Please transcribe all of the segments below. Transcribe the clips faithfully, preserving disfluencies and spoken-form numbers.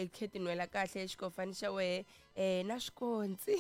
um khe tinwela kahle xikofani xa wehe um na swikontsi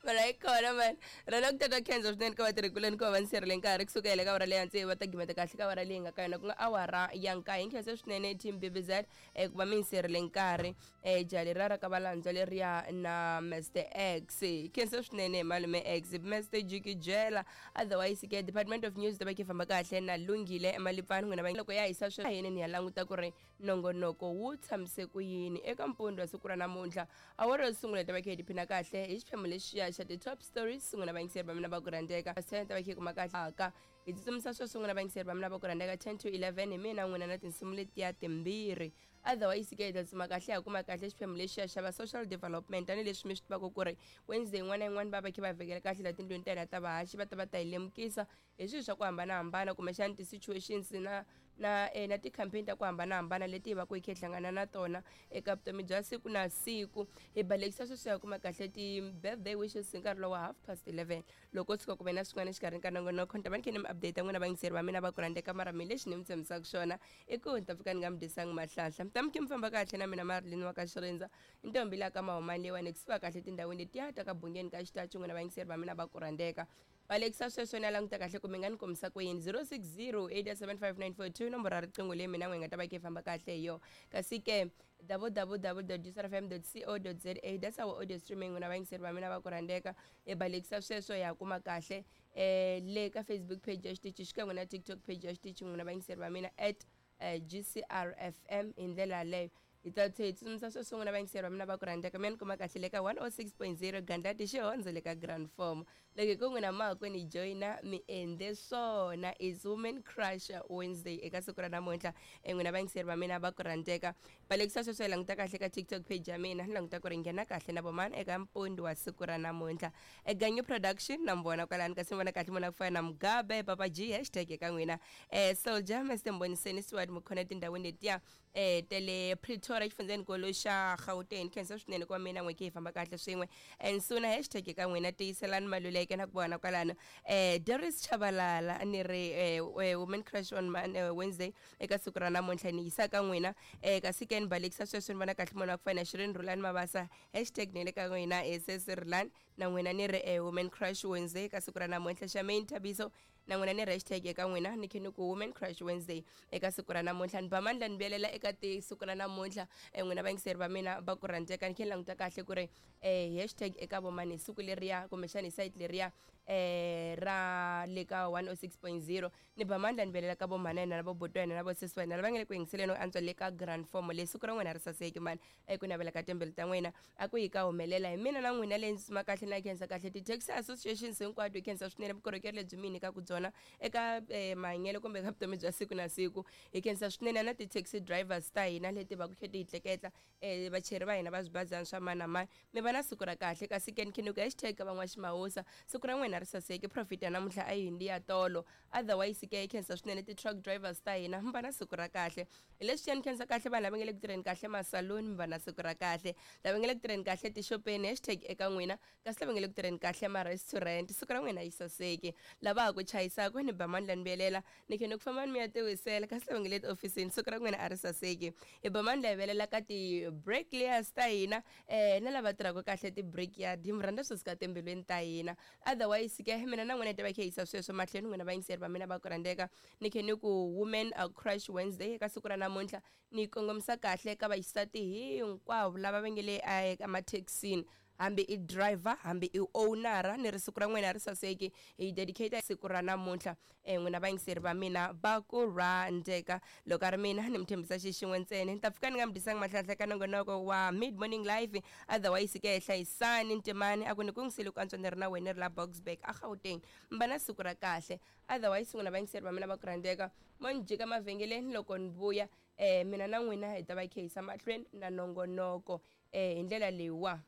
mara yi kona mani rona ku tata khensa swinene ka vatirhikuleni ku va va ni sirhele nkarhi kusuka hi le ka awara leyi hansi va ta gimeta kahle ka awara leyi nga ka yona ku nga awara ya nkaye nkhensa swinene team B B Z um ku va mi ni sirhele nkarhi um jaha leriya ra ka valandzwa leriya na Mister X khensa swinene malume X Mister Jikijela. Otherwise ke Department of News ta va ki famba kahle na Lunghile Malipfani n'wina va loko ya hisa sweswi yini ni ya languta ku ri nongonoko wu tshamise ku yini eka mpundzu wa siku ra namuntlha. Awara yo sungula ta va kha hi tiphina kahle hi xiphemu lexiya xa ti-top stories n'wina vayingiseri va mina va ku rhandzeka. Ten ta va kha hi kuma kahle aka hi tsutsumisa sweswi n'wina vayingiseri va mina va ku rhandzeka, ten to eleven hi mina n'wina na tinsimu letiya timbirhi. Otherwise ke hi ta tsuma kahle ha kuma kahle xiphemu lexiya xa va social development tanihileswi mi swi tivaka ku ri Wednesday yin'wana na yin'wana va va kha va vhekela kahle la tindlwini ta hina ta vahaxi va ta va ta hi lemukisa hi swilo swa ku hambanahambana kumbexana ti-situations na na eh, na ti-campaign ta ku hambanahambana leti hi va ku hi kha hi hlangana na tona eka vutomi bya siku na siku. Hi balekisa sweswi ya kuma kahle ti-birthday wishes hi nkarhi lowa half past eleven. Loko tshuka ku ve na swin'wana exikarhini ka nongonoko ni ta va ni kha ni mi update n'wina vayingiseri va mina va ku rhandzeka. Mara mi lexi ni mi tshembisaka xona i ku ni ta pfuka ni nga mi dyisanga mahlahla mi ta mi khe mi famba kahle na mina Marilyn wa ka Xirindza ntombi la ka mahumani leyiwani kusuka kahle tindhawini letiya ta ka Bungeni ka Xitachi n'wina vayingiseri va mina va ku rhandzeka. Balekisa sweswo ni ya languta kahle ku mi nga ni kombisa ku yini. zero six zero eight seven five nine four two nomboro ya riqingho leyi mina n'wi nga ta va kha yi famba kahle hi yona. Kasi ke w w w dot g c r f m dot co dot za, that's our audio streaming n'wina vayingiseri va mina va ku rhandzeka. Hi balekisa sweswo hi ya kuma kahle um le ka Facebook page ya xitichi xikan'we na TikTok page ya xitichi n'wina vayingiseri va mina at uh, G C R F M. Hi ndlela yaleyo hi ta tlhe hi tsutsumisa sweswo n'wina vayingiseri va mina va ku rhandzeka. Mi ya ni kuma kahle le ka one oh six point zero Gandlati Xihondzo le ka Grand Form. Loko hi ku n'wina mahakwini hi joyina mi endle swona is Women Crush Wednesday eka siku ra namuntlha e n'wina vayingiseri va mina va ku rhandzeka. Balekisa sweswo hi languta kahle ka TikTok page ya mina ni languta ku ri nghena kahle na vomani eka mpundi wa siku ra namuntlha Eganyu Production na mi vona kwalani kasi mi vona kahle mona ku fana na Mugabe Papa G hashtag eka n'wina um Soldier Mr Mboniseni Stewart mukhona etindhawini letiya um tele Pretoria xifundzenikulu xa Gauteng. Khensa swinene ku va mina n'we ki hi famba kahle swin'we and suna hashtag eka n'wina tiyiselani Maluleke na ku vona kwalano um Doris Chabalala ni ri eh, Women Crush on Man- eh, Wednesday eka siku ra namuntlha ni yisa ka n'wina um kasi ke ni balekisa sweswo ni vona kahle munhu wa ku fana na Shirin Rulani Mabasa hashtag ni le ka n'wina sesi Rulani na n'wina ni ri eh, Women Crush Wednesday eka siku ra namuntlha. Shamaine Thabiso na n'wina ni ri hashtag eka n'wina ni khe ni ku Women Crush Wednesday eka siku ra namuntlha. Ni ba mandla ni vuyelela eka ti siku ra namuntlha um n'wina vayingiseri va mina va ku rhandzeka ni khe ni languta kahle ku ri um hashtag eka vomani hi siku leriya kumbexana hi site leriya um ra le ka one oh six point zero. Ni ba mandla ni vuyelela ka vomhana hina na voboti wa hina na vosesi wa hina lava nga le ku yingiseleni antswa le ka Grand Form leyi. Siku ra n'wina ri saseki mani eku navela ka timbilu ta n'wina a ku yi ka humelela hi mina na n'wina leyi ndzi tsuma kahle na khensa kahle ti-taxi associations hinkwato. Hi khensa swinene vukorhokeri lebyi mi nyikaka byona eka eh, mahanyelo kumbe eka vutomi bya siku na siku. Hi khensa swinene na ti-taxi drivers ta hina leti va ku khe ti hi tleketla um vacheri va hina va swibazana swa mani na mani. Mi va na siku ra kahle. Kasi ke ni khe ni ku hashtag ka van'waximawusa siku ra n'wina ri saseki profit ya namuntlha a yi hindi ya tolo. Otherwise ke hi khensa swinene ti-truck drivers ta hina. Mi va na siku ra kahle. Hi leswi ni khensa kahle vanhu lava nga le ku tirheni kahle masaluni. Mi va na siku ra kahle. Lava nga le ku tirheni kahle tixopeni hashtag eka n'wina. Kasi lava nga le ku tirheni kahle ma-restaurant siku ra n'wina yi saseki. Lava ha ku chayisaka ni ba mandla ni vuyelela ni khe ni ku famba ni mi ya tiwisela. Kasi lava nga le tiofisini siku ra n'wina a ri saseki. Hi ba mandla hi velela ka ti-bricklayers ta hina um na lava tirhaka kahle ti-brickyard. Hi mi rhandza swi suka timbilwini ta hina. Otherwise ke mina na n'wina hi ta va khe yisa sweswo mahlweni n'wina vayingiseri va mina va ku rhandzeka. Ni khe ni ku Women Crush Wednesday eka siku ra namuntlha ni kongomisa kahle ka vaxisati hinkwavo lava va nge le emathekisini hambi i driver hambi i owner ni ri siku ra n'wina ri saseki. Hi dedicate siku ra namuntlha um n'wina vayingiseri va mina va ku rhandzeka. Loko a ri mina ni mi tshembisa xi xin'we ntsena ni ta pfuka ni nga mi dyisanga mahlahla ka nongonoko wa Mid Morning Live. Otherwise ke hlayisani ntimani a ku ni kungisile ku antswa ni ri na wena ni ri la Boksburg a Gauteng. Mi va na siku ra kahle. Otherwise n'wina vayingiseri va mina va ku rhandzeka mo ni jika mavhengeleni loko ni vuya um mina na n'wina hi ta va khe yisa mahlweni na nongonoko um hi ndlela leyiwa.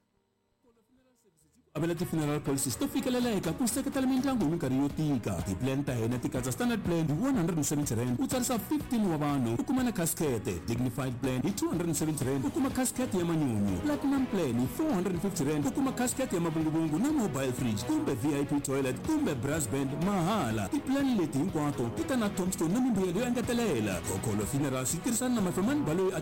Avela ti-funeral policies to fikeleleka ku seketela mindyangu hi minkarhi yo tika. Ti-plan ta hina ti katsa standard plan hi one hundred and seventy rand u tsarisa fifteen wa vanhu u kuma na casket, dignified plan hi two hundred and seventy rand u kuma casket ya manyunyu, platinum plan hi four hundred and fifty rand u kuma casket ya mavunguvungu na mobile fridge kumbe V I P toilet kumbe brass band mahala. Ti-plan leti hinkwato ti ta na tombstone na mimbuyelo yo engetelela. Khokholo Funerals yi tirhisana na Mafemani Baloyi.